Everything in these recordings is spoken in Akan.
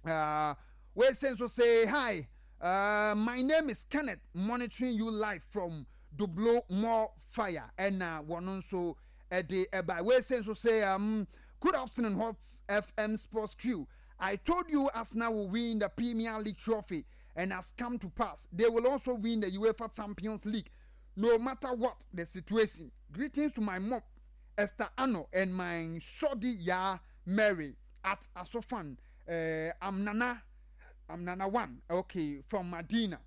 Wei se nso say hi. My name is Kenneth monitoring you live from Dublo more fire ɛna wɔn nso ɛde ɛba. Wei se nso say good afternoon Hot FM Sports Crew. I told you Arsenal will win the Premier League trophy and has come to pass. They will also win the UEFA Champions League no matter what the situation. Greetings to my mom Esther Ano and my shoddy Ya Mary at Asofan. I'm Nana. I'm Nana One. Okay, from Madina.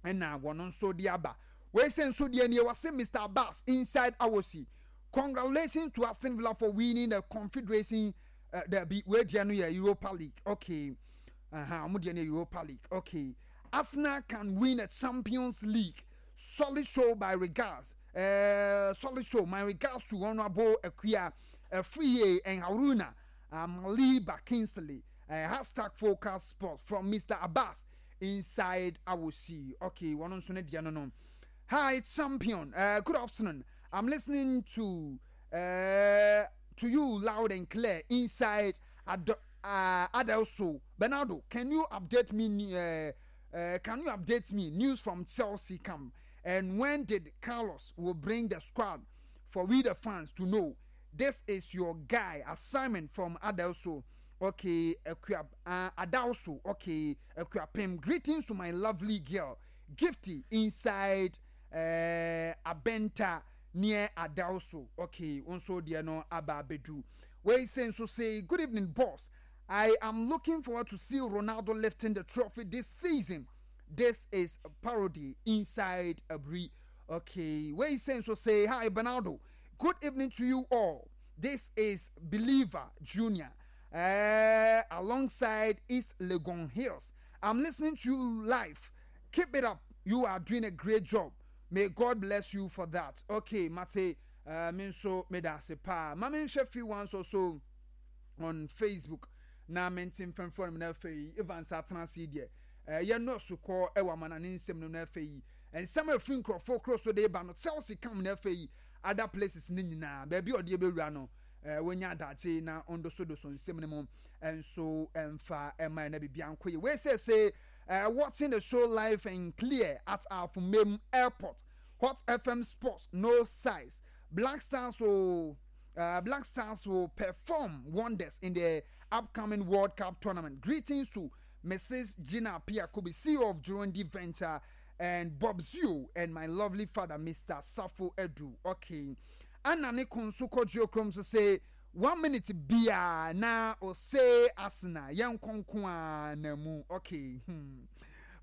Ɛna wɔn nso de aba. Wei sɛ nso deɛ nie wɔse Mr. Abbas inside Awosi. Congratulations to Aston Villa for winning the Confederation. Dabi, wei deɛ no yɛ Europa League. Okay. Aha, wɔn deɛ no yɛ Europa League. Okay. Arsenal can win a Champions League. Solid show by regards. Solid show. My regards to Honorable Akuya Afriye and Haruna Maliba Kingsley. Hashtag Focus Sport from Mr. Abbas inside Awosi. Okay, wɔn nso ne deɛ no no. Hi champion. Good afternoon. I'm listening to you loud and clear inside Adelso. Bernardo, can you update me? Can you update me news from Chelsea camp? And when did Carlos will bring the squad for we the fans to know? This is your guy assignment from Adelso. Okay, Akua, Adalso. Okay, Akuapem. Greetings to my lovely girl, Gifty, inside Abenta near Adalso. Okay, nso deɛ no aba abedu. Wei say nso say good evening, boss. I am looking forward to see Ronaldo lifting the trophy this season. This is a parody inside Abri. Okay, wei say nso say hi Bernardo. Good evening to you all. This is Believer Junior alongside East Legon Hills. I'm listening to you live. Keep it up. You are doing a great job. May God bless you for that. Okay, Mate, me nso meda ase paa. Ma menhwɛ few ones also on Facebook na mente mfɛmfrɛ no na afei Evans atena ase yi deɛ yɛ nɔɔso kɔ wɔ amanane nsɛm no na afei nsɛm a ɛfiri nkurɔfoɔ kuro so de ba no Chelsea kam na afei other places no nyinaa baabi a ɔde bɛwura no wɔnya adagye na ɔndosodoso nsɛm no mu nso mfa ɛma na biribi ankɔ yie. Wei sɛ sɛ watching the show live and clear at Afumem Airport. Hot FM Sports no size. Black Stars will perform wonders in the upcoming World Cup tournament. Greetings to Mrs. Gina Piakobi, CEO of Jurundi Venture, and Bob Zio, and my lovely father, Mr. Safo Edu. Okay. Anna ne konso kɔdwo krom so say 1 minute bia na ose asena yɛn nkonko a na mu. Okay.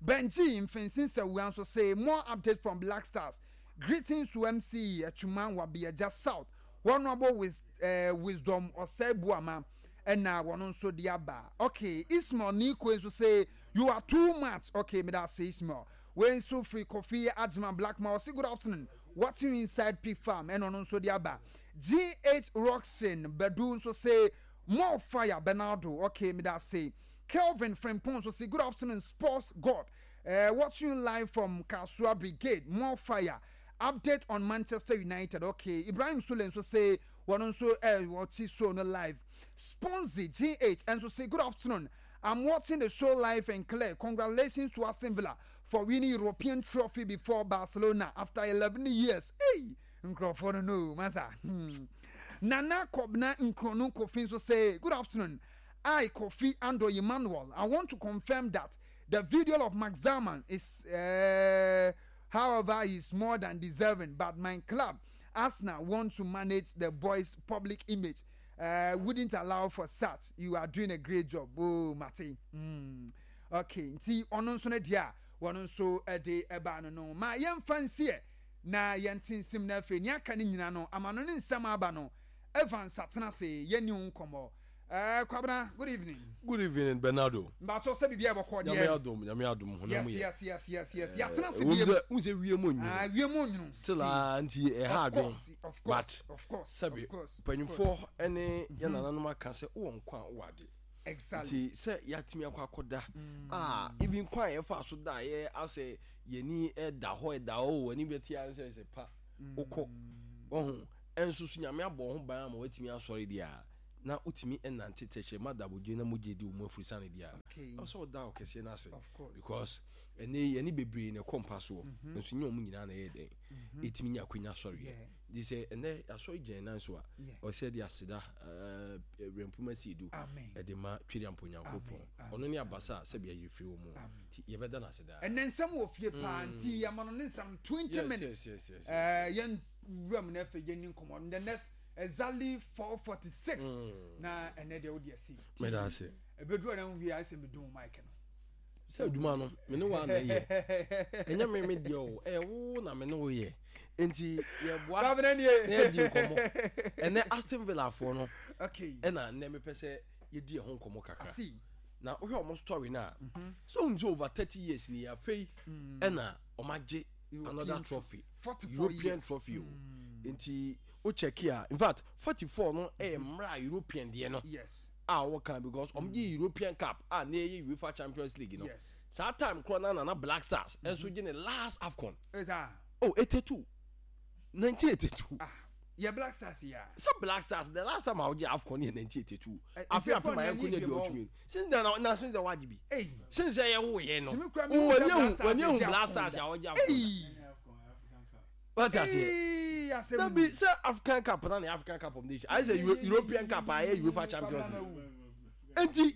Benji Mfensin Sawua nso say more update from Black Stars. Greetings to MC Atwuma Wabiaja South. Honorable Wisdom Osei Buama ɛna wɔn nso de aba. Okay, Ismail Nikwe nso say you are too much. Okay, me da say Ismail. Wei nso firi Kofi Adjuma Blackman ɔsi good afternoon. Watching you inside Pig Farm ɛna ɔno nso de aba. GH Roxin Badu nso say more fire Bernardo. Okay, me da say Kelvin Frimpong nso say good afternoon Sports God. Watching you live from Kasua Brigade. More fire. Update on Manchester United. Okay, Ibrahim Sule nso say wɔn nso wɔte show no live. Sponzy GH nso say good afternoon. I'm watching the show live and clear. Congratulations to Aston Villa for winning European trophy before Barcelona after 11 years. Hey, nkurɔfoɔ no no masa. Nana Kobna Nkronu Kofi nso say good afternoon. I Kofi Ando Emmanuel. I want to confirm that the video of Max Dowman is, however, is more than deserving. But my club, Arsenal, want to manage the boys' public image. Wouldn't allow for such. You are doing a great job. Oh, Mate. Okay. Nti ono nso ne dia wono nso de eba no no. Ma yemfa nsie na yente nsim na afi ni aka ne nyina no amano ne nsɛm aba no. Evans atena se ye ni nkomo. Kwabena, good evening. Good evening, Bernardo. Mbato sɛ biribi a ɛbɔkɔ deɛ. Nyame adom, Nyame adom honam Yes, yɛ. yes. Yɛatena se biem. Wo sɛ wie mu onwunu. Ah, wie mu onwunu. Still ah, nti ɛha Of adwen. course, of course, But of course, sɛbi of course, of course. mpanyinfoɔ ɛne yɛn nananom aka sɛ wowɔ nkwa a wowɔ ade. Exactly. Nti sɛ yɛatumi akɔ akɔda a even kwan a yɛfa so da yɛ asɛ yɛni ɛda hɔ ɛda hɔ o w'ani bɛte ara sɛ sɛ pa wokɔ wɔho ɛnso so Nyame abɔ ho ban ama watumi asɔre deɛ a. na wotumi nante tɛkyerɛma da abodwe na mogya di wo mu afurusane deɛ a, ɛwɔ sɛ woda ɔkɛseɛ no ase because ɛnɛ yi yɛne bebree na ɛkɔ mpa soɔ mhm. nso nyɛ wɔn nyinaa na ɛyɛ dɛn mhm. ɛtumi nya akwanya sɔreɛ nti sɛ ɛnɛ asɔre gyina nan so a ɔsɛ de aseda werɛmpoma si edu ɛde ma twere ampo nyankopɔn ɔno ne abasa a sɛbi ayere firi wɔ mu nti yɛbɛda no ase daa. Ɛnɛ nsɛm wɔ fie paa mm. nti yɛma no ne nsɛm 20 minutes yɛn wuram na afei yɛni nkɔmmɔ the next exactly 4:46 mm. na ɛnɛ deɛ wode asi meda ase ɛbɛduru ɛna nwie ayɛ sɛ medum mic no sɛ adwuma no me ne wa na ɛyɛ ɛnyɛ me me deɛ o ɛyɛ wo na me ne wo yɛ nti yɛboa na yɛdi nkɔmmɔ ɛnɛ Aston Villa foɔ no ɛna nnɛ mepɛ sɛ yɛdi ɛho nkɔmmɔ kakra na wohwɛ wɔn story no a mhm. so wonim sɛ over 30 years ni afei mm. ɛna wɔn agye another trophy European trophy o mm. nti wo check a in fact 44 no ɛyɛ mhm. mmerɛ a European deɛ no a wɔka because wɔn gye mm. European Cup a na ɛyɛ UEFA Champions League no saa time korɔ na nana Black Stars ɛnso mhm. gye ne last AFCON oh 82 1982 ah. Yɛ Black Stars yi a. Sɛ Black Stars the last time a wogye AFCON yɛ 1982. Afe afe ma yɛnkɔ nya aduɔwɔtwe mmienu. Since then na since then wagye bi. Since sɛ yɛwo yɛn no. W'ani ehu w'ani ehu Black Stars a wɔgye AFCON da. Wate aseɛ. Dabi sɛ African Cup na ne African Cup of Nations ayɛ sɛ European Cup a ɛyɛ UEFA Champions League. Enti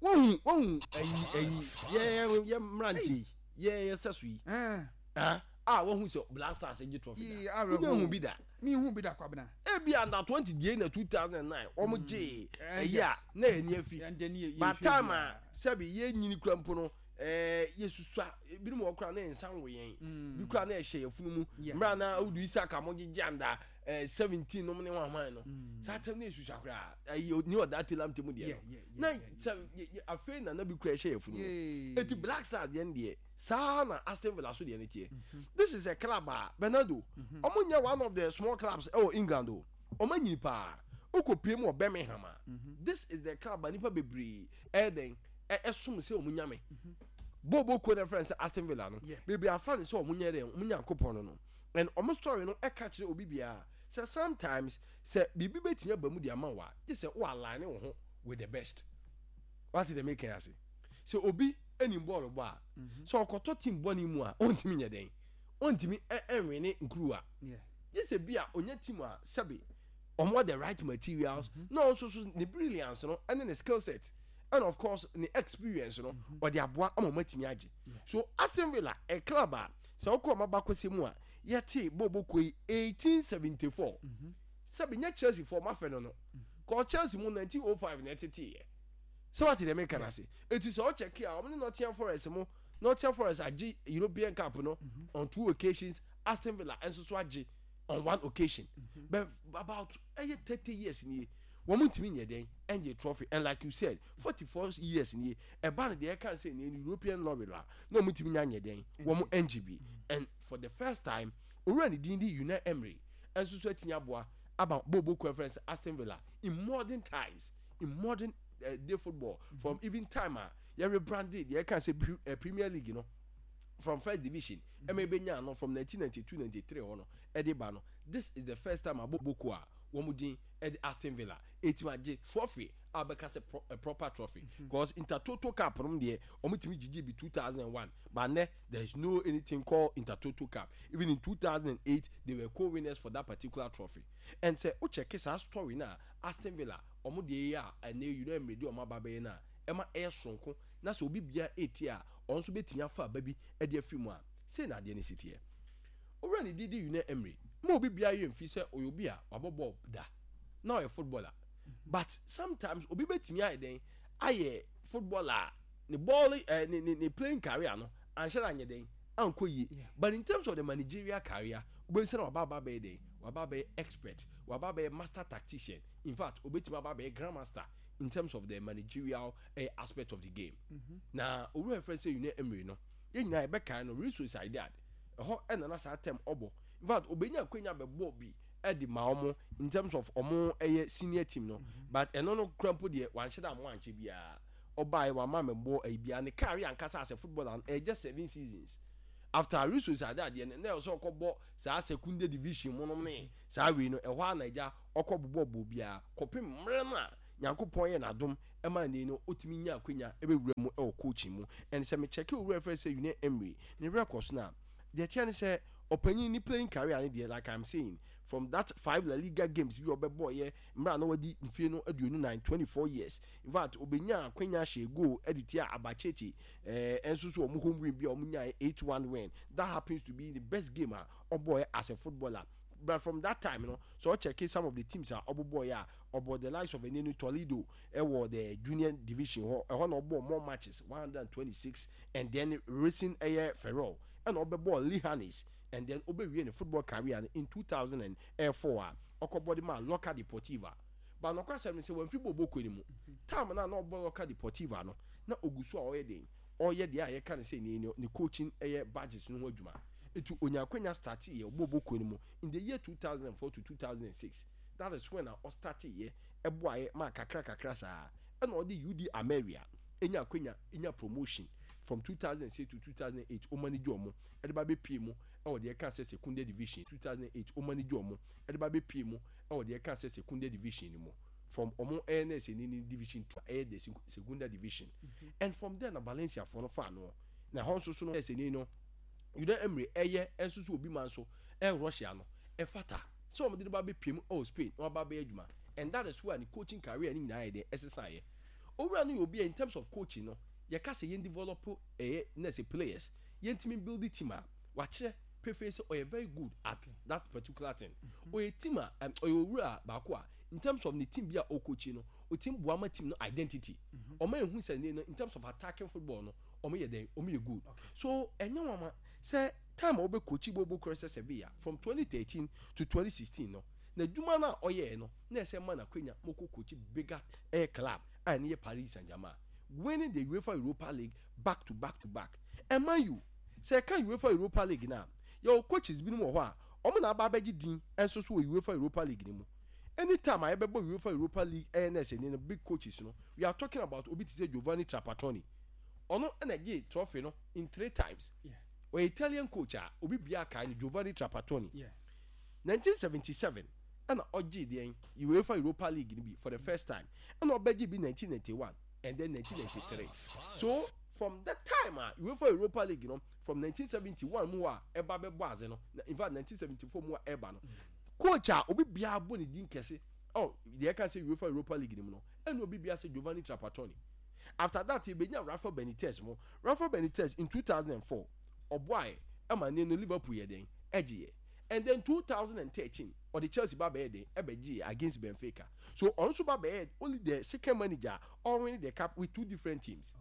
wohu wohu ɛyi ɛyi yɛ yɛ mmeranteɛ yi yɛ yɛ sɛ so yi. Ah a wahu sɛ Black Stars gye trophy da. Wonya hu bi da. Mi hu bi da Kwabena. Ebi under 20 deɛ na 2009 wɔn mm. gye eh, ɛyi a na yɛn ni afi. Ba time a sɛbi yɛn nyini kura mpo no ɛɛ eh, yɛsusua ebinom wɔ kura na yɛn nsa nwo yɛn. Mm. Bi kura na yɛhyɛ yɛn funu mu. Mmerɛ na Audu Isaka mo gyegye under ɛɛ 17 nom ne wɔn ahwan no. Mm. Saa time na yɛsusua koraa ɛyi ni ɔda telam temu deɛ no. Na sɛ afei na na bi kura yɛhyɛ yɛn funu mu. Eti Black Stars deɛ no deɛ. Saa na Aston Villa so deɛ no teɛ. This is a club a Bernardo, wɔn nyɛ one of the small clubs ɛwɔ England o. Wɔn anyini paa. Wokɔ pie mu wɔ Birmingham a, this is the club a nipa bebree ɛyɛ dɛn ɛsom sɛ wɔn nyame. Bobo kuo na ɛfrɛ no sɛ Aston Villa no, bebree afa no sɛ wɔn nyɛ dɛn, wɔn nyankopɔn no no. And wɔn story no ɛka kyerɛ obi biara sɛ sometimes sɛ biribi bɛtumi aba mu de ama wo a, gye sɛ wo align wo ho with the best. Wate deɛ meka yi ase? Sɛ obi nim bɔɔlo bɔ a, mhm. sɛ ɔkɔtɔ team bɔne mu a, ɔntumi nyɛ dɛn? Ɔntumi nwene nkuruwa. Gye sɛ bi a ɔnya team a sɛbe ɔmo the right materials mhm. na ɔnso so ne brilliance no ɛne ne skill set and of course ne experience no mhm. ɔde aboa ama ɔmo atumi agye. So Aston Villa a club a sɛ ɔkɔ ɔmo abakɔsɛ mu a yɛte bɔɔbɔ kuo yi 1874 sɛbe nyɛ Chelsea fo ɔmo afɛ no no kɔ Chelsea mu 1905 na ɛteteeɛ. Sɛ wate deɛ meka no ase? Eti sɛ ɔkyɛke a, wɔn ne Nottingham Forest mo, Nottingham Forest agye European Cup no mhm. on two occasions, Aston Villa nso so agye on one occasion. Mhm. But about ɛyɛ 30 years nie, wɔn ntumi nyɛ dɛn ɛngye trophy and like you said, 44 years nie, ɛba no deɛ ɛka sɛ ne European lorry la, na wɔn ntumi nya nyɛ dɛn, wɔn ɛngye bi. And for the first time, owura ne din di Unai Emery nso so atumi aboa aba bobo kɔ ɛfrɛ sɛ Aston Villa in modern times. In modern uh, day football mm -hmm. from even time a yɛ rebranded yɛ kan sɛ pre, uh, Premier League no from first division ɛma mm -hmm. ebenya no from 1992 93 hɔ no ɛde ba no, this is the first time abɔ boko a wɔn din ɛde Aston Villa etimi agye trophy a bɛka sɛ pro, a proper trophy because mm -hmm. Intertoto Cup no deɛ wɔn tumi gyigye bi 2001 but nɛ there is no anything called Intertoto Cup. Even in 2008 they were co-winners for that particular trophy and sɛ o check saa story na Aston Villa wɔn deɛ yi a ɛnɛ yi no mmerɛ di wɔn aba bɛyɛ no a ɛma ɛyɛ soronko na sɛ obi bia ɛretie a ɔno nso bɛtumi afa aba bi de afiri mu a, sei na adeɛ no si teɛ. Owura ne din de Unai Emery ma obi biara werɛ mfi sɛ ɔyɛ obi a wabɔ bɔɔl da na ɔyɛ footballer but sometimes obi bɛtumi ayɛ dɛn ayɛ footballer a ne bɔɔl eh, ne, ne, ne playing career no anhyɛ da anyɛ dɛn ankɔ yie but in terms of the managerial career wobɛhu sɛ na waba aba abɛyɛ dɛn waba abɛyɛ expert waba abɛyɛ master tactician. In fact, obetumi aba abɛyɛ grandmaster in terms of the managerial eh, aspect of the game. Mm -hmm. Na owura yɛfrɛ sɛ Unai Emery no, yɛn nyinaa yɛbɛkae no Real Sociedad. Ɛhɔ ɛna na saa term ɔbɔ. In fact, obenya akwanya bɛbɔ bi ɛde ma wɔn in terms of wɔn ɛyɛ senior team no. Mm -hmm. But ɛno no kura mpo deɛ wanhyɛ da mo ankyɛ biara. Ɔbaeɛ wama mɛbɔ ɛyi biara ne career ankasa as a footballer no ɛyɛ just 7 seasons. After Real Sociedad deɛ no, na ɛwɔ sɛ ɔkɔbɔ saa Secunda Division mu nom ne saa wei no, ɛhɔ ara na agya ɔkɔ bobɔ bɔɔl biara kɔpem mmerɛ no a Nyankopɔn yɛ n'adom ma nnɛ yi no ɔtumi nya akwanya bɛwura mu wɔ coaching mu. And sɛ me check owura a yɛfrɛ no sɛ Unai Emery ne records no a, deɛ ɛteɛ ne sɛ ɔpanyin ne playing career no deɛ like I'm saying from that five La Liga games bi a ɔbɛbɔeɛ mmerɛ a na wadi mfie no 24, 24 years, in fact ɔbɛnyaa akwanya hyɛɛ goal de tiaa Albacete eh, nso so wɔn home win bi a wɔn nyaeɛ 8-1 win, that happens to be the best game a ɔbɔeɛ as a footballer. But from that time no, sɛ ɔkyɛke some of the teams a ɔbobɔeɛ a, ɔbɔ the likes of ɛne no Toledo ɛwɔ the junior division hɔ, ɛhɔ na ɔbɔɔ more matches, 126, and then Racing ɛyɛ Ferrol, ɛna ɔbɛbɔɔ Leganes, and then ɔbɛwie ne football career no in 2004 a ɔkɔbɔ de maa Lorca Deportiva. But nokwasɛm ne sɛ wamfiri bɔɔlbɔ kuo no mu. Time no a na ɔbɔ Lorca Deportiva no, na ɔgu so a ɔyɛ den, ɔreyɛ deɛ a yɛka no sɛ ne ne coaching ɛyɛ badges no ho adwuma. Nti ɔnya akwanya starteeɛ ɔbɔɔlbɔ kuo no mu in the year 2004 to 2006. That is when a ɔstarteeɛ boaeɛ maa kakra kakra saa ɛna ɔde UD Almeria nya akwanya nya promotion from 2006 to 2008 ɔmanage wɔn de ba bɛpue mu wɔ deɛ yɛka sɛ Secunda Division 2008 ɔmanage wɔn de ba bɛpue mu wɔ deɛ yɛka sɛ Secunda Division no mu from wɔn ɛyɛ na ɛsɛ ni Division 2 ɛyɛ the Segunda Division and from there na Valencia foɔ no faa noɔ na ɛhɔ nso so no ɛsɛ ni no Unai Emery ɛyɛ nso so obi ma nso ɛyɛ Russia no ɛfata sɛ wɔde no ba bɛpue mu wɔ Spain na waba abɛyɛ adwuma and that is where ne coaching career no nyinaa yɛ den ɛsesaeɛ. Owura no yɛ obi a in terms of coaching no yɛka sɛ yɛn develop ɛyɛ na sɛ players yɛntumi build team a wakyerɛ pefee sɛ ɔyɛ very good at that particular thing. Ɔyɛ team a ɔyɛ owura baako a in terms of ne team bi a ɔcoachi no ɔtumi boa ma team no identity ɔma yɛhu sɛ ne no in terms of attacking football no ɔmo yɛ dɛn ɔmo yɛ good. So ɛnyɛ nwanwa sɛ time a ɔbɛ coachi Bobo Croesus Sevilla from 2013 to 2016 no n'adwuma no a ɔyɛɛ no na ɛsɛ ma no akwanya ma ɔkɔ coachi bigger ɛyɛ club a ɛno yɛ Paris Saint-Germain winning the UEFA Europa League back to back to back. And mind you, sɛ yɛka UEFA Europa League no a, yɛwɔ coaches binom wɔ hɔ a wɔn na aba abɛgye din nso so wɔ UEFA Europa League no mu. Anytime a yɛbɛbɔ UEFA Europa League ɛyɛ na ɛsɛ ni no big coaches no, we are talking about obi te sɛ Giovanni Trapattoni. Ɔno na ɛgyee trophy no in three times. Ɔyɛ Italian coach a obi biara kae no, Giovanni Trapattoni. 1977 ɛna ɔgyee deɛn UEFA Europa League no bi for the first time, ɛna ɔbɛgye bi 1991 and then 1993. So from that time a UEFA Europa League no from 1971 mu hɔ a ɛba bɛbɔ adze no, in fact 1974 mu a ɛba no, coach a obi biara bɔ ne din kɛse oh deɛ ɛka sɛ UEFA Europa League no mu no, ɛna obi biara sɛ Giovanni Trapattoni. After that yɛbɛnya Rafa Benitez mo. Rafa Benitez in 2004 ɔboaeɛ ɛma ne no Liverpool yɛ den ɛgyeeɛ. And then 2013 ɔde Chelsea ba bɛyɛ den ɛbɛgyeeɛ against Benfica. So ɔno nso ba bɛyɛ only the second manager a ɔwin the cup with two different teams.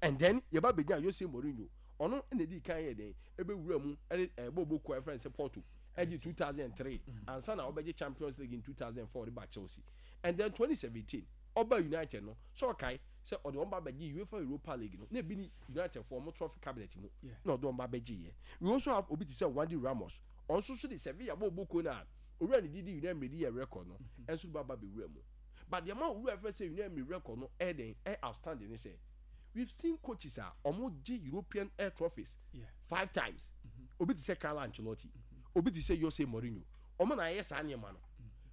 And then yɛba bɛnya Jose Mourinho, ɔno na ɛdii kan yɛ den ɛbɛwura mu ɛde ɛbɔ bokuo a yɛfrɛ no sɛ Porto ɛgye 2003 ansa na ɔbɛgye Champions League in 2004 de ba Chelsea. And then 2017 ɔba United no, sɛ ɔkae sɛ ɔde wɔn ba bɛgye UEFA Europa League no, na ebi ne United foɔ wɔn trophy cabinet mu na ɔde wɔn ba bɛgyeeɛ. We also have obi te sɛ Juande Ramos, ɔno nso so de Sevilla bɔɔ bɔkuo no a owura no didi Unai Emery de yɛɛ record no nso de ba ba bɛwura mu. But deɛ ɛma owura frɛ sɛ Unai Emery record no ɛyɛ dɛn, ɛyɛ outstanding ne sɛ, we've seen coaches a wɔgye European air trophies five times. Obi te sɛ Carlo Ancelotti, obi te sɛ Jose Mourinho, wɔn na ayɛ saa nneɛma no.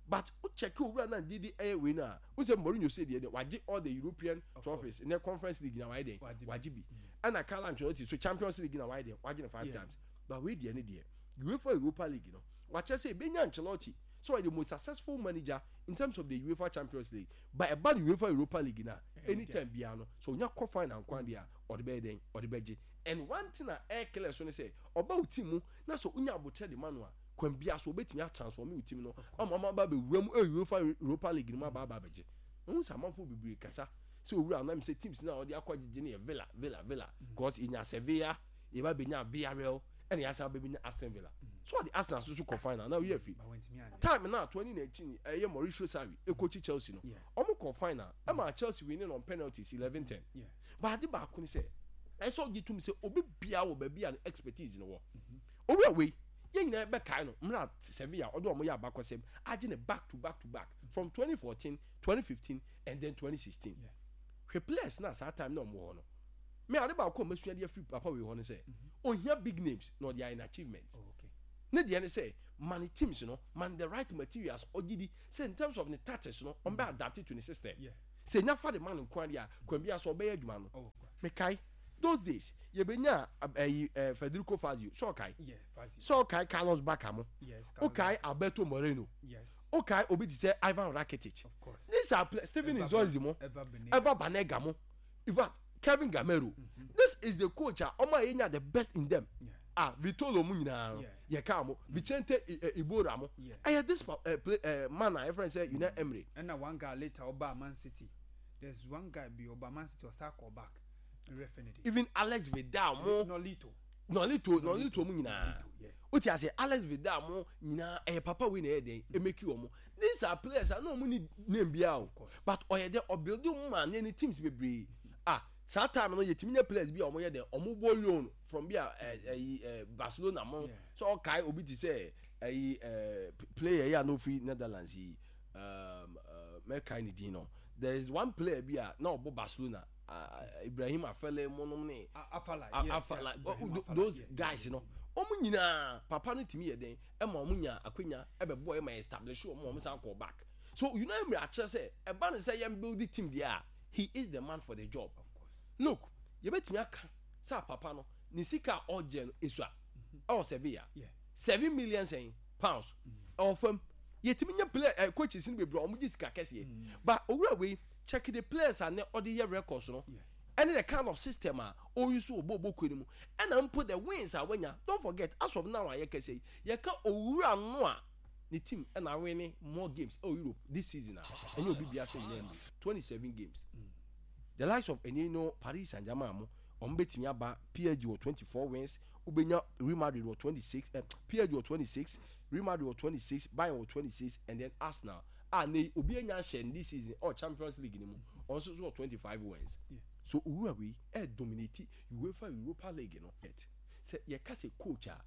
But wo check owura no a didi ɛyɛ wei no a, wohu sɛ Mourinho sei deɛ deɛ wagye all the European trophies, ne Conference League na wayɛ dɛn, wagye bi. Ɛna Carlo Ancelotti so Champions League na wayɛ dɛn, wagye no five times. But wei deɛ ne deɛ, UEFA Europa League no, wakyerɛ sɛ ebenya Ancelotti sɛ ɔyɛ the most successful manager in terms of the UEFA Champions League. But ɛba no UEFA Europa League no a, anytime biara no, sɛ onya kɔ final nko ara deɛ a, ɔde bɛyɛ dɛn, ɔde bɛgye. And one thing a ɛyɛ clear so ne sɛ, ɔba wo team mu na sɛ onya aboterɛ de ma no a, kwan biara so obetumi atransform wo team no ama ɔmo aba abɛwura mu ɛwɔ UEFA Europa League no mu aba aba abɛgye. Wohu sɛ amanfoɔ bebree kasa sɛ owura no, na sɛ teams no a ɔde akɔ agyegye no yɛ Villa, Villa, Villa. Because yɛnya Sevilla, yɛba bɛnya Villarreal, ɛna yɛasan bɛbɛnya Aston Villa. So ɔde Arsenal nso so kɔ final na ɔyɛ afi. Time na 2019 ɛyɛ Mauricio Sarri ɛkɔkyi Chelsea no, ɔmo kɔ final ɛma Chelsea winning on penalties 11-10. But ade baako ne sɛ, ɛsɛ ɔgye tom sɛ obi biara wɔ baabi a ne expertise no wɔ. Owura wei, yɛn nyinaa bɛkae no mmerɛ a Sevilla ɔde wɔn yɛ abakɔsɛm agye no back to back to back from 2014, 2015 and then 2016. Hwɛ players no a saa time na wɔn wɔ hɔ no. Me ade baako a masua de afiri papa wei hɔ ne sɛ, ɔnhia big names na ɔde ayɛ n'achievements. Ne deɛ ne sɛ, ma ne teams no, ma no the right materials, ɔgye di sɛ in terms of ne tactics no, ɔmbɛ adapt to ne system. Sɛ nya fa de ma no nko ara deɛ a, kwan biara so ɔbɛyɛ adwuma no. Mekae those days, yɛbɛnyaa ɛyi eh, Federico Fazio, sɛ ɔkae? Sɛ ɔkae Carlos Bacca mo? Wokae Alberto Moreno? Wokae obi te sɛ Ivan Rakitic? These are players, Steven Nzonzi mo, Eva Banega mo, in fact, Kevin Gameiro. This is the coach a ɔmo a yɛnya the best in them. Ah, Vitolo mo nyinaa no, yɛkaa mo, Vicente Iborra mo. Ɛyɛ this play, man a yɛfrɛ no sɛ Unai Emery. Ɛna one guy later ɔbaa Man City. There's one guy bi ɔbaa Man City ɔsan kɔɔ back. Me werɛ fi ne din. Even Alex Vidal mo. Nolito. Nolito, Nolito mo nyinaa. Wote aseɛ, Alex Vidal mo nyinaa ɛyɛ papa wei na ɛyɛ dɛn, ɛmɛki wɔn. These are players a na wɔn ni name biara o, but ɔyɛ dɛ ɔbuild wɔn maa ne ne teams bebree. Ah, saa time no yɛtumi nya players bi a wɔn yɛ dɛ wɔn bɔ loan from bi a ɛyi ɛ Barcelona mo. So ɔkae obi te sɛ ɛyi ɛ player yi a na ofiri Netherlands yi, um, uh, mɛkae ne din no. There is one player bi a na ɔbɔ Barcelona. Ibrahim Afele mo nom ne Afala, Afala, those guys no. Wɔn nyinaa papa no tumi yɛ den ɛma wɔn nya akwanya ɛbɛbɔ ɛma establish wɔn wɔn san kɔ back. So Unai Emery akyerɛ sɛ ɛba ne sɛ yɛn build team deɛ a, he is the man for the job. Of course. Look, yɛbɛtumi aka sɛ papa no ne sika a ɔgye no esua ɛwɔ Sevilla. 7 million sɛn pounds ɛwɔ fam. Yɛtumi nya player ɛ coaches no bebree a wɔn gye sika kɛseɛ. But owura wei, check the players a ne ɔde yɛ records no ɛne the kind of system a ɔyi so wɔ bɔɔlbɔ kuo no mu, ɛna mpo the wins a wanya. Don't forget, as of now a yɛkasa yi, yɛka owura no a ne team ɛna awin more games ɛwɔ Europe this season a, ɛnyɛ obi bia sɛ Unai Emery, 27 games. The likes of ɛni no Paris Saint-Germain mo, wɔn bɛtumi aba. PSG wɔ 24 wins, wobɛnya Real Madrid wɔ 26, PSG wɔ 26, Real Madrid wɔ 26, Bayern wɔ 26, and then Arsenal a ne obi anya ahyɛ no this season ɔ Champions League no mu, ɔno nso so wɔ 25 wins. So owura wei ɛ dominate UEFA Europa League no. Sɛ yɛka sɛ coach a,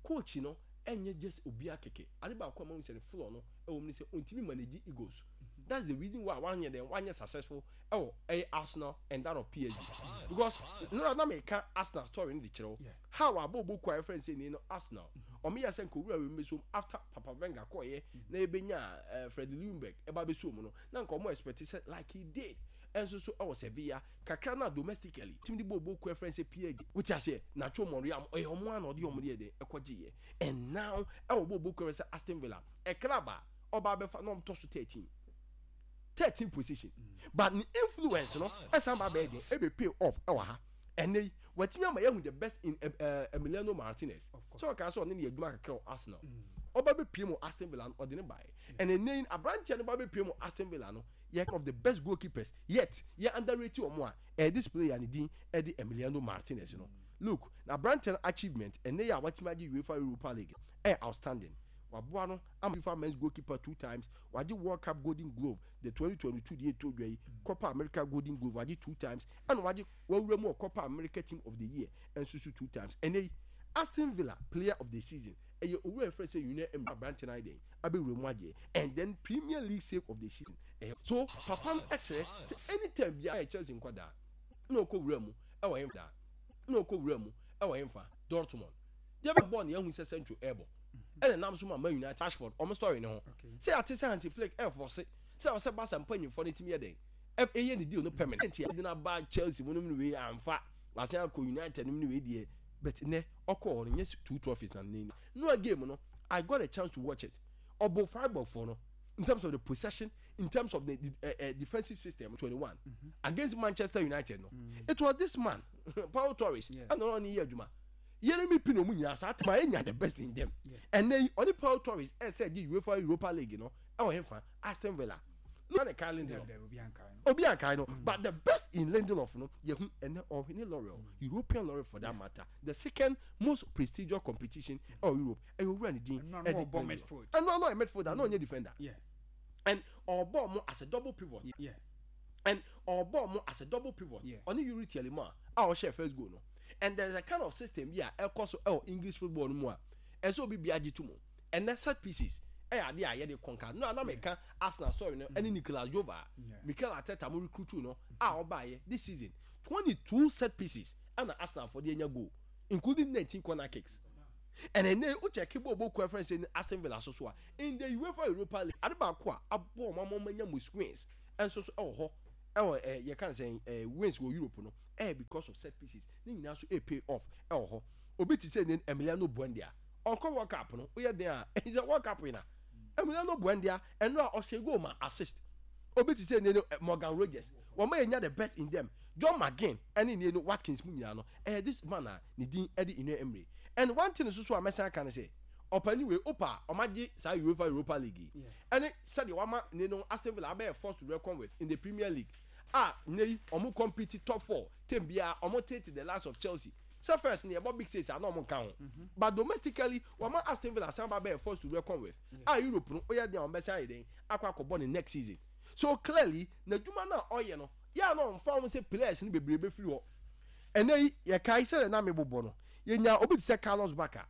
coach no ɛnyɛ just obi akeke. Ade baako a mahu sɛ ne flaw no ɛwɔ mu ne sɛ ɔntumi manage egos. That's the reason why wanyɛ dɛn, wanyɛ successful ɛwɔ ɛyɛ Arsenal and that of PSG. Because nora na meka Arsenal story no de kyerɛ wo how a bɔɔlbɔ kuo a yɛfrɛ no sɛ ni no Arsenal, ɔmo yɛ sɛ nka owura wei mbɛsom after Papa Wenger kɔɔyɛ na yɛbɛnya Freddie Ljungberg ɛba bɛsom mu no, na nka ɔmo expect sɛ like he did ɛnso so ɛwɔ Sevilla kakra na domestically team de bɔɔlbɔ kuo a yɛfrɛ no sɛ PSG. Wote aseɛ? Nacho Monreal ɔyɛ ɔmo a na ɔde ɔmo deɛ dɛn ɛkɔgyeeɛ, and now ɛwɔ bɔɔlbɔ kuo a yɛfrɛ sɛ Aston Villa, ɛ club a ɔba abɛfa na ɔmo tɔ so 13 position, but ne influence no ɛsan ba bɛyɛ den ɛbɛ pay off ɛwɔ ha. Ɛnɛ yi watumi ama yɛhu the best in Emiliano Martinez. Sɛ ɔka sɛ ɔne ne yɛ adwuma kakra wɔ Arsenal, ɔba bɛ pie mu Aston Villa no, ɔde ne baeɛ, and ɛnɛ yi aberanteɛ no ba bɛ pie mu Aston Villa no, yɛ of the best goalkeepers yet yɛ underrate wɔn a ɛyɛ this player ne din ɛde Emiliano Martinez no. Look, na aberanteɛ no achievement ɛnɛ yi a watumi agye UEFA Europa League ɛyɛ outstanding. Waboa no ama FIFA men's goalkeeper two times, wagye World Cup Golden Glove, the 2022 deɛ ɛtɔ dwa yi, Copa America Golden Glove wagye two times, ɛna wagye wawura mu wɔ Copa America Team of the Year nso so two times. Ɛnɛ yi Aston Villa Player of the Season ɛyɛ owura yɛfrɛ sɛ Unai Emery. Aberante no ayɛ dɛn abɛwura mu agyeɛ, and then Premier League Save of the Season ɛyɛ. So papa no ɛkyerɛ sɛ anytime biara ɛyɛ Chelsea nkwadaa na ɔkɔ wura mu ɛwɔ hemfa na ɔkɔ wura mu ɛwɔ hemfa Dortmund deɛ bɛ bɔɔl na yɛahu sɛ Sancho ɛɛbɔ ɛna nam so ma Man United Rashford ɔmo story ne ho sɛ yɛate sɛ Hansi Flick ɛɛfɔse sɛ ɔsɛ Barca mpanyinfoɔ no tumi yɛ dɛn ɛyɛ ne deal no permanent nti ɛde no aba Chelsea mu nom ne wei amfa wasan akɔ United nom ne wei deɛ, but nɛ ɔkɔɔ hɔ no nyɛ two trophies na ne no game no, I got a chance to watch it. Ɔbɔ Freiburg for no in terms of the possession, in terms of the defensive system 21 against Manchester United no, it was this man Paul Torres ɛna ɔno ne yɛ adwuma. Yeremy Pino mu nyinaa saa time a enya the best in them. Ɛnɛ yi ɔne Paul Torres ɛsɛ gye UEFA Europa League no ɛwɔ hefa Aston Villa no ne Kai Lindelof, obi ankae no, but the best in Lindelof no yɛhu ɛnɛ ɔhwene laurel, European laurel for that matter, the second most prestigious competition ɛwɔ Europe, ɛyɛ owura ne din ɛde Lindelof. Ɛno ano ɔyɛ midfielder na ɔnyɛ defender and ɔbɔ ɔmo as a double pivot and ɔbɔ ɔmo as a double pivot. Ɔne Youri Tielemans a ɔhyɛ first goal no, and there is a kind of system bi a ɛkɔ so ɛwɔ English football no mu a ɛsɛ obi bi agye to mu. Ɛnɛ set pieces ɛyɛ adeɛ a yɛde kɔnka no a na meka Arsenal story no ɛne Nicolas Jover, Mikel Arteta mo recruit no a ɔbaayɛ this season. 22 set pieces ɛna Arsenal fo de anya goal, including 19 corner kicks. And ɛnɛ wo check bɔ bɔ kɔ ɛfrɛ sɛ Aston Villa so so a, in the UEFA Europa League, ade baako a aboɔ ɔmo ama ɔmo anya most wins ɛnso so ɛwɔ hɔ, ɛwɔ yɛka no sɛ wins wɔ Europe no, ɛyɛ because of set pieces. Ne nyinaa so ɛ pay off ɛwɔ hɔ. Obi te sɛ ne Emiliano Buendia, ɔkɔ World Cup no, woyɛ den a, ɛsɛ World Cup winner Emiliano Buendia, ɛno a ɔhyɛ goal ma assist. Obi te sɛ ne no Morgan Rogers, wɔn a yɛnya the best in them, John McGinn ɛne ne no Watkins mu nyinaa no, ɛyɛ this man a ne din ɛde Unai Emery. And one thing nso so a mɛsan aka ne sɛ, ɔpani wei opa a ɔmagye saa UEFA Europa League yi, ɛne sɛdeɛ wama ne no Aston Villa abɛyɛ force to reckon with in the Premier League a ne yi ɔmo compete top four team biara, ɔmo tete the likes of Chelsea sɛ first ne yɛbɔ big six a na ɔmo nka ho, but domestically wɔma Aston Villa san ba bɛyɛ force to reckon with a Europe no, oyɛ den a ɔmo bɛsan ayɛ den akɔ akɔbɔ ne next season. So clearly n'adwuma no a ɔyɛ no yɛ a na ɔmfa ho sɛ players no bebree bɛfiri hɔ. Ɛnɛ yi yɛkae sɛdeɛ na mebobɔ no, yɛnya obi te sɛ Carlos Bacca,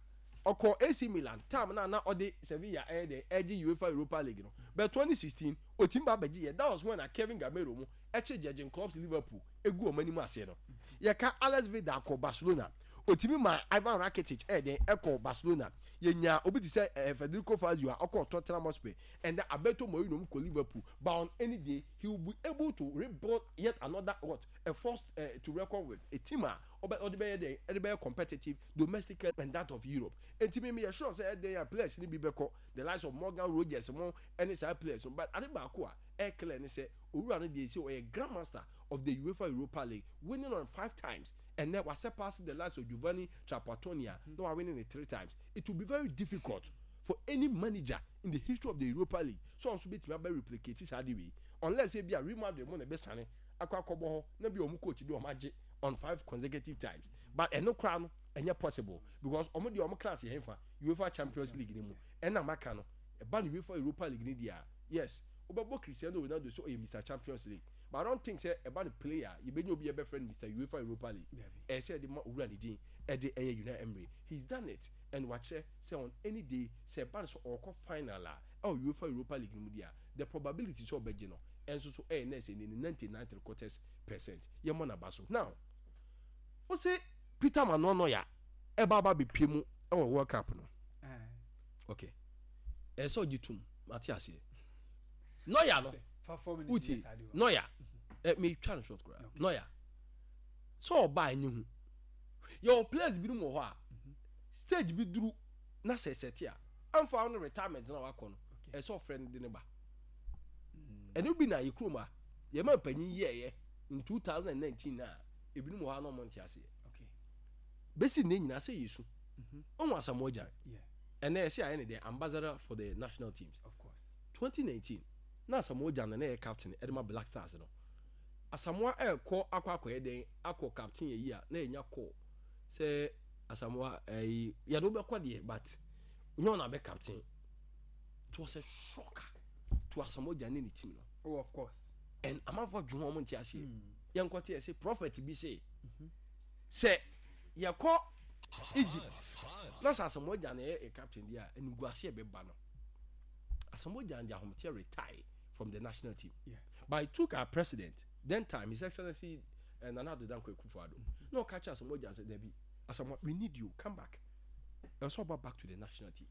ɔkɔ AC Milan time no a na ɔde Sevilla ɛyɛ dɛn ɛgye UEFA Europa League no, but 2016 ɔtumi ba bɛgye yɛ. That was when a Kevin Gameiro mu ɛkye Jurgen Klopp's Liverpool egu wɔn anim aseɛ no. Yɛka Alex Vidal kɔ Barcelona, ɔtumi maa Ivan Rakitic ɛyɛ dɛn ɛkɔ Barcelona. Yɛnya obi te sɛ Federico Fazio a ɔkɔɔ Tottenham Hotspur, and then Alberto Moreno mu kɔ Liverpool, but on any day he will be able to rebuild yet another what a force to reckon with, a team a ɔbɛ ɔde bɛyɛ dɛn ɛde bɛyɛ competitive domestically and that of Europe. Enti me meyɛ sure sɛ ɛdɛn a players no bi bɛkɔ, the likes of Morgan Rogers mo ɛne saa players no, but ade baako a ɛyɛ clear ne sɛ owura no deɛ sɛ ɔyɛ grandmaster of the UEFA Europa League, winning on five times. Ɛnɛ wa surpass the likes of Giovanni Trapattoni a na wa winning it three times. It will be very difficult for any manager in the history of the Europa League sɛ ɔnso bɛtumi abɛ replicate saa de wei, unless ebi a Real Madrid mo na ɛbɛsane akɔ akɔbɔ hɔ na bi a ɔmo coach de ɔmo agye on five consecutive times, but ɛno koraa no ɛnyɛ possible because ɔmo deɛ ɔmo class yɛ hefa UEFA Champions League ne mu. Ɛna maka no, ɛba no UEFA Europa League ne deɛ a, yes, wobɛbɔ Cristiano Ronaldo sɛ ɔyɛ Mr Champions League, but I don't think sɛ ɛba no player a yɛbɛnya obi a yɛbɛfrɛ no Mr UEFA Europa League. Ɛyɛ sɛ yɛde ma owura ne din ɛde ɛyɛ Unai Emery. He's done it and wakyerɛ sɛ on any day sɛ ɛba no sɛ ɔrekɔ final a ɛwɔ UEFA Europa League no mu deɛ a, the probability sɛ ɔbɛgye no ɛnso so ɛyɛ nɛɛsɛ ne 99.75%. Yɛmmɔ n'aba so. Now wose Peter Manuel Neuer ɛba aba bɛpie mu ɛwɔ World Cup no, okay, ɛyɛ sɛ ɔgye tum, mate aseɛ. Neuer no wotie Neuer ɛ metwa no short koraa. Neuer sɛ ɔbaa ɛnyɛ hu, yɛwɔ players binom wɔ hɔ a stage bi duru na sɛ ɛsɛte a amfa wo no retirement na wakɔ no, ɛsɛ sɛ ɔfrɛ no de ne ba. Ɛno bi na yɛ kurom a yɛma mpanyin yɛɛyɛ in 2019 na ebinom wɔ hɔ a na ɔmo nte aseɛ. Bɛsi nnɛ nyinaa sɛ yɛsu ɔhu Asamoah Gyan, ɛnɛ yɛsɛ ayɛ ne deɛ ambassador for the national teams. 2019 na Asamoah Gyan na na ɛyɛ captain ɛde ma Black Stars no. Asamoah ɛrekɔ akɔ akɔyɛ dɛn akɔ captain yɛ yi a na yɛnya call sɛ Asamoah ɛyi yɛde wobɛkɔ deɛ, but nyɛ ɔna abɛ captain. It was a shock to Asamoah Gyan ne ne team no. Oh, of course. And amanfoɔ dwen ho, ɔmo nte aseɛ. Yɛnkɔ te yɛsɛ prophet bi sɛ sɛ yɛkɔ Egypt na sɛ Asamoah Gyan na ɛyɛ captain deɛ a, animguase ɛbɛba no. Asamoah Gyan de ahometeɛ retire from the national team. But it took our president then time, His Excellency Nana Addo Dankwa Akufo-Addo, na ɔka kyerɛ Asamoah Gyan sɛ dabi, Asamoah, we need you, come back. Ɛwɔ sɛ ɔba back to the national team.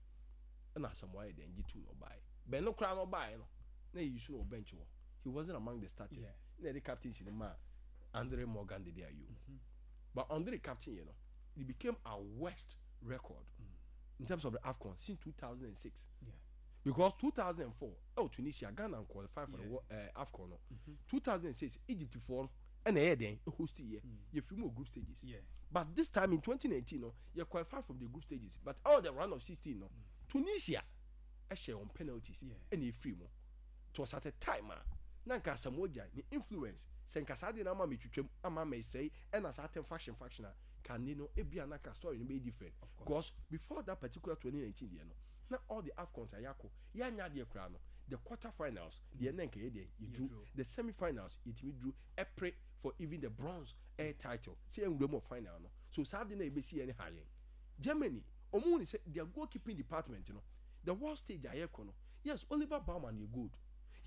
Ɛna Asamoah yɛ dɛn gye tu na ɔbaeɛ. Bɛn no koraa na ɔbaeɛ no na yɛyi so no wɔ bench hɔ. He wasn't among the starters. Na yɛde captaincy no maa Andre Morgan Dede Ayew. But Andre captain yɛ no, it became our worst record in terms of the AFCON since 2006. Because 2004 ɛwɔ Tunisia, Ghana qualify for the AFCON no. 2006 Egypt foɔ no ɛna ɛyɛ dɛn host yɛ, yɛfiri mu wɔ group stages. But this time in 2019 no, yɛ qualify from the group stages, but all the round of 16 no, Tunisia ɛhyɛ on penalties ɛna efiri mu. It was at a time a na nka Asamoah Gyan ne influence sɛ nka saa deɛ no ama metwitwam ama mesɛe ɛna saa tem faction faction a ka ne no ebia na ka story no bɛyɛ different, because before that particular 2019 deɛ no, na all the AFCONs a yɛakɔ yɛanya adeɛ koraa no, the quarter finals deɛ na nka yɛ deɛ yɛduru, the semi finals yɛtumi duru ɛpre for even the bronze air title sɛ yɛnwura mu wɔ final no. So saa de na yɛbɛsi yɛn ne ha yɛn Germany, ɔmo hu ne sɛ their goalkeeping department no, the world stage a yɛkɔ no, yes, Oliver Baumann yɛ good,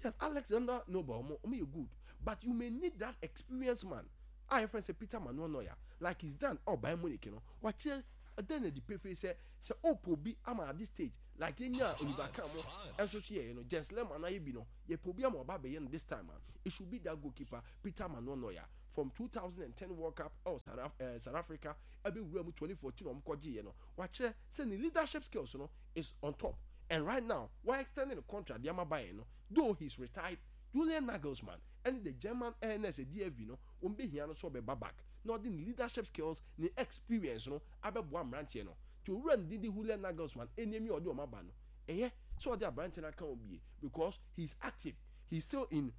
yes, Alexander Nobel ɔmo yɛ good, but you may need that experienced man. a yɛfrɛ no sɛ Peter Manuel Neuer, like he's done ɛwɔ Bayern Munich no, wakyerɛ ɛda no adi pefee sɛ sɛ ɔpɛ obi ama at this stage like yɛnyaa Oliver Kahn mo nso so yɛyɛ no, Jens Lehmann ayɛ bi no, yɛpɛ obi ama waba abɛyɛ no this time a, it should be that goalkeeper Peter Manuel Neuer from 2010 World Cup ɛwɔ South Africa ɛbɛwura mu 2014 a wɔkɔgyeeɛ no, wakyerɛ sɛ ne leadership skills no is on top and right now wa extend ne contract de ama Bayern no though he's retired. Julian Nagelsmann ɛne the German ɛɛ DFB no wɔn bɛhia no sɛ ɔbɛba back na ɔde ne leadership skills, ne experience no abɛboa mmeranteɛ no. Nti owura no din de Julian Nagelsmann ɛnneɛm yi a ɔde wɔn aba no, ɛyɛ sɛ ɔde aberanteɛ no aka ho bie because he is active, he is still in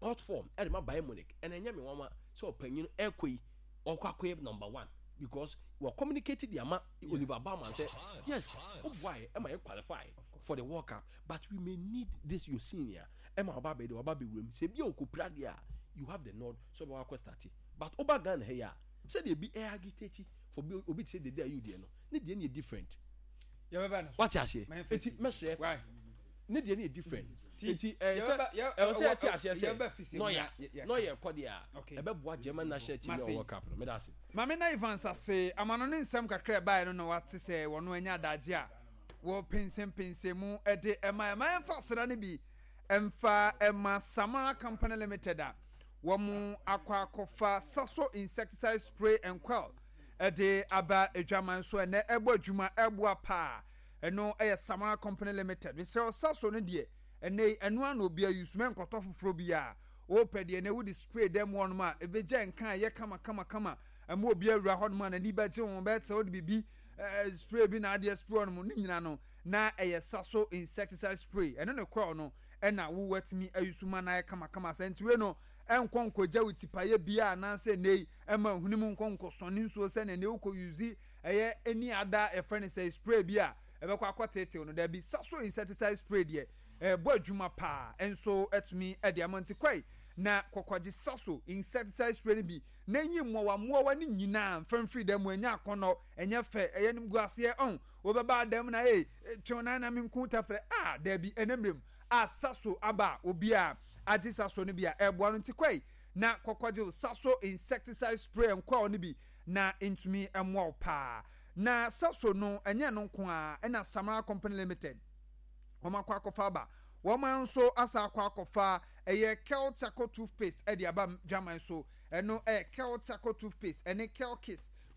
hot form ɛde ma Bayern Munich and ɛnyɛ me nwanwa sɛ ɔpanyin no ɛrekɔ yi ɔrekɔ akɔyɛ number one because wɔ communicate de ama Oliver Baumann sɛ yes woboaeɛ ɛma yɛ qualify for the World Cup but we may need this your senior ɛma ɔba abɛyɛ dɛ waba abɛwura mu sɛ ebi a ɔkɔpira deɛ a you have the nod sɛ ɔbɛkɔ akɔ starte but woba Ghana ha yi a sɛdeɛ ebi ɛ agitate for bi obi te sɛ Dede Ayew deɛ no ne deɛ no yɛ different yɛbɛba no so wate aseɛ eti mɛsrɛ ne deɛ no yɛ different eti ɛyɛ sɛ ɛwɔ sɛ yɛte aseɛ sɛ nɔya nɔya ɛkɔ deɛ a ɛbɛboa German national team ne World Cup no meda ase. Maame na Evans ase ama no ne nsɛm kakra ɛbaeɛ no na wate sɛ wɔn anya adagye a wɔpɛnsɛmpɛnsɛm mu de ɛma ɛma yɛmfa aseda no bi mfa ɛma Samara Company Limited a wɔn akɔ akɔfa Saso insecticide spray and coil ɛde aba adwaman so ɛnɛ ɛbɔ adwuma ɛboa paa. Ɛno ɛyɛ Samara Company Limited. Mesrɛ Saso no deɛ ɛnɛ yi ɛno ano obi ayi so mɛnkɔtɔ foforɔ biara. Wopɛ deɛ ɛnɛ wode spray dɛm hɔnom a ɛbɛgya nka ɛyɛ kama kama kama ɛma obi awura hɔnom a n'ani bɛgye ho bɛyɛ sɛ wode biribi spray bi na adeɛ spray hɔnom ne nyina no na ɛyɛ Saso insecticide spray ɛno ne coil no ɛna wo watumi ayi so ma no ayɛ kama kama sɛ nti wei no ɛnkɔ nkɔgya wo tipaeɛ biara anaasɛ ɛnɛ yi ɛma hwene mu nkɔ nkɔsɔne nsuo sɛnea ɛnɛ wokɔ use ɛyɛ any other yɛfrɛ no sɛ spray bi a ɛbɛkɔ akɔteetew no daabi Saso insecticide spray deɛ ɛbɔ adwuma paa nso atumi de ama nti kɔe na kɔkɔgye Saso insecticide spray no bi na enyi mmoawa mmoawa no nyinaa mfa mfiri dan mu ɛnyɛ akɔnnɔ ɛnyɛ fɛ ɛyɛ animguaseɛ ɔn wobɛba adan mu na ee twew nan na menku tafrɛ a daabi ɛnɛ mmerɛ mu a Saso aba a obiara agye Saso no bi a ɛboa no nti kɔe na kɔkɔgye wo Saso insecticide spray nkɔɔ no bi na ntumi mmoa wo paa na Saso no ɛnyɛ no nko ara ɛna Samara Company Limited wɔn akɔ akɔfa aba wɔn nso asa akɔ akɔfa ɛyɛ Kel Charcoal toothpaste ɛde aba dwaman so ɛno ɛyɛ Kel Charcoal toothpaste ɛne Kel Kiss.